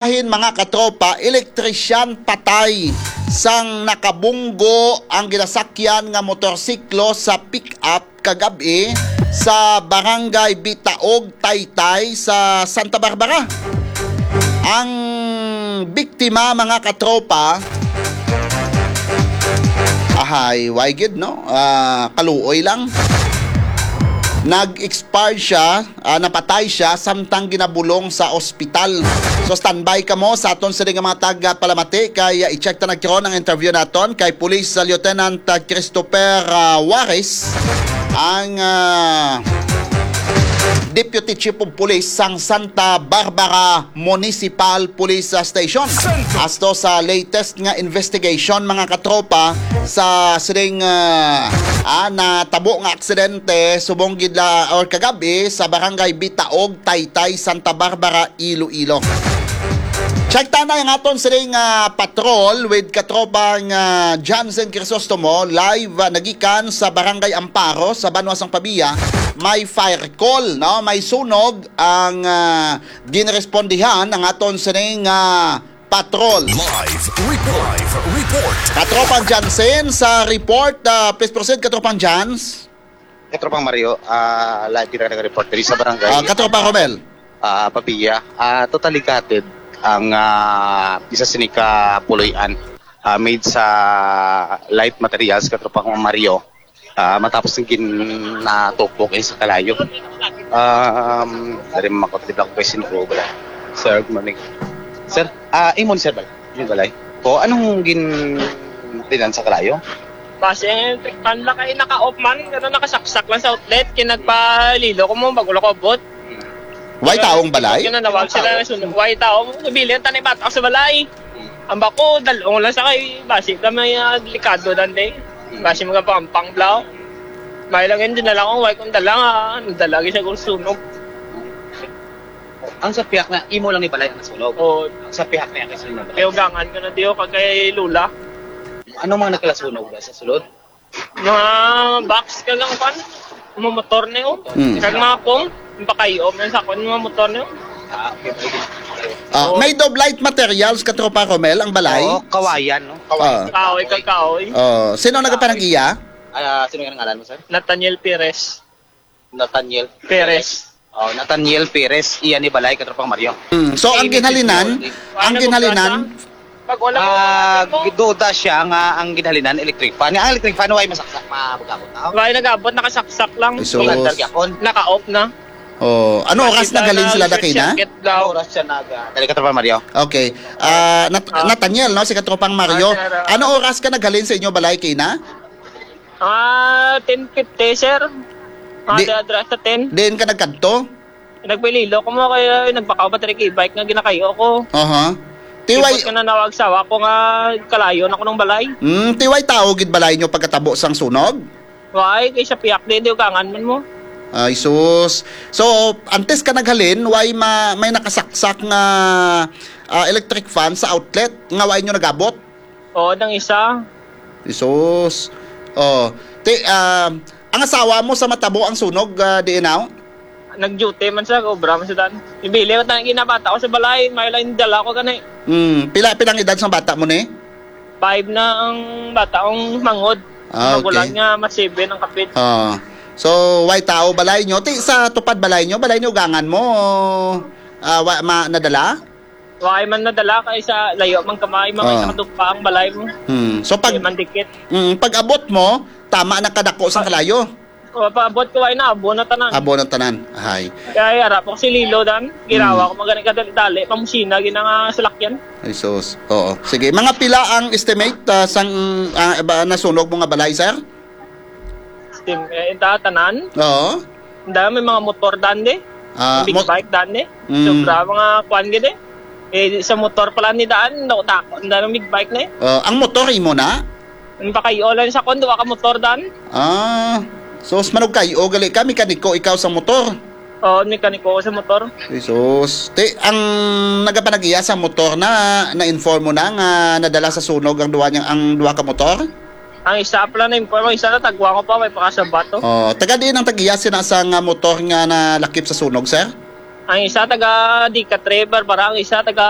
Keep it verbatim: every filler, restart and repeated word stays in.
Bahin, mga katropa, elektrisyan patay sang nakabunggo ang ginasakyan nga motorsiklo sa pick-up kagab-i sa Barangay Bitaog, Taytay sa Santa Barbara. Ang biktima, mga katropa, ahay, why gid, no? Ah, kaluoy lang. Nag-expire siya, ah, napatay siya samtang ginabulong sa ospital. So, standby kamo sa aton sini nga mga tagpalamati kay, ah, i-check ta nagkaron ang interview naton kay Police, ah, Lieutenant, ah, Christopher, ah, Juarez, ang, ah, Deputy Chief of Police sang Santa Barbara Municipal Police, ah, Station. Asto sa latest nga investigation, mga katropa, sa sining, ah, ah, natabo nga aksidente subong gid la or kagabi sa Barangay Bitaog, Taytay, Santa Barbara, Iloilo. Check ta na ang aton sining, ah, patrol with katropang, ah, Johnson Crisostomo, live, ah, nagikan sa Barangay Amparo sa Banwa sang Pavia. May fire call, no? May sunog ang, ah, ginrespondihan ang aton sining, ah, patrol. Live report. Live report. Katropang Jansen sa report. Ah, please proceed, Katropang Jans. Katropang Mario, ah, live kita nag-report diri sa barangay. Ah, Katropang Romel. Ah, Pavia. Ah, totally gutted ang, ah, isa sini ka puloy-an, ah, made sa light materials, Katropang Mario. Ah, matapos ng ginatupok ay sa kalayo. Um, dari mo makot di black question ko bala. Sir, good morning. Sir, ah, imo ni sir bala? Yung balay. O, anong gin tinan sa kalayo? Base ang electric fan lang kay naka-off man, ano, nakasaksak lang sa outlet, kinagpalilo ko mo, bago lang ko abot. Way taong balay? Yun na, nawag sila na sunog. Way tao, nabilin, tanay bata sa balay. Ang bako, dalong lang sa kay, basi ka may, ah, delikado dan, de. Basi mga pampang, blaw. May lang yun, dinala ko, way kong dala nga, nadala, gisa kong sunog. Ang sa pihak na, imo lang ni balay ang nasunog? Oo. Ang sa pihak niya, kasi na balay. Kaya ugangan ko na, diyo, kag kay Lula. Anong mga nagkalasunog ba sa sulod? Mga box ka lang, kwan. Mga motor na yun. Hmm. Kag mga pong, yung pakayo, may sa kwan, mga motor na yun. Ah, okay, okay. Ah, Oo. Made of light materials, Katropa Romel, ang balay? Oo, kawayan, no? Kawayan. Ah. Kahoy, kag kahoy. Oh, sino nagpanag-iya? Ah, sino nga ang ngalan mo, sir? Nathaniel Perez. Nathaniel Perez. Oh, Nathaniel Perez, iya ni balay, Katropang Mario. Mm. So, ang Ini ginhalinan, si Paul. Ang Ano ginhalinan, ba? Pag wala mo Ah, mga ano mo? Giduda siya nga ang ginhalinan electric fan. Nga ang electric fan, way masaksak, mabugabot na. Way nag-abot, nakasaksak lang. Ay, sus. Magandar gyapon. Naka-off na. Oh, ano oras Makita naghalin na sila, short Dakina? Circuit daw. Ano oras siya nag, ah, dali, Katropang Mario? Okay. Ah, Nat-, Ah. Nathaniel, no, si Katropang Mario. Ah, sir, ah. Ano oras ka naghalin sa inyo balay, Kina? Ah, ten fifty, sir. Mga Di-, sa address sa ten. Diin ka nagkadto? Nagpililo ko mo kaya nagpakaw pa diri kay bike nga ginakayo ko. Aha. Tiway Ibot ko na nawag sawa ko nga kalayo na ko ng balay. Mm, tiway tao gid balay nyo pagkatabo sang sunog? Why? Kay sa piyak di, di ugangan man mo. Ay, sus. So, antes ka naghalin, why ma-, may nakasaksak nga, ah, electric fan sa outlet nga why nyo nagabot? Oo, nang isa. Jesus. Oh, ti, ah, ang asawa mo sa matabo ang sunog, ah, di inaw? Nag-duty man sa obra man sa dan. Ibili ko tanang ginabata ko sa balay, may lang dala ko gani. Hmm, pila, pilang edad sa bata mo ni? Five na ang bata kong mangod. Ah, okay. Magulang niya, mas seven ang kapit. Ah. So, way tao balay nyo? Ti, sa tupad balay nyo, balay ni ugangan mo? Ah, wa, ma, nadala? Wa man nadala kay sa layo man kamay, mga Ah. Sa kadugpa ang balay mo. Hmm. So, pag, Di man dikit. Mm, pag abot mo, tama na kadako sa Ah. kalayo. O, pag abot ko, ay na, abo na tanan. Abo na tanan. Ahay. Kaya ara po si Lilo dan, ginawa Hmm. ko magani kadali-dali, pamusina, ginanga salakyan. Ay, sus. Oo. Sige, mga pila ang estimate, ah, sang, ah, ba, nasunog mo nga balay, sir? Steam, eh, ita, tanan. Oo. Ang dami, mga motor dan, di. Ah, Big mot-, bike dan, di. Mm. Sobra, mga kwan, gid, eh. Eh, sa motor pala ni daan, no, ta-, ang dami, big bike na, eh. Ah, ang motor, imo na? Ang pakayo lang sa kwan, duwa ka motor dan. Ah, so, mas manugkayo, gali ka, mekaniko ikaw sa motor? Oo, mekaniko ko sa motor. Jesus. Ti, ang nagapanag-iya sa motor na, na-inform mo na nga nadala sa sunog ang duwa niyang, ang duwa ka motor? Ang isa pala na-inform, ang isa na tagwa ko pa, may pakasabato. Oh, taga diin ang tag-iya sina sa nga motor nga nalakip sa sunog, sir? Ang isa taga Decatur River, para ang isa taga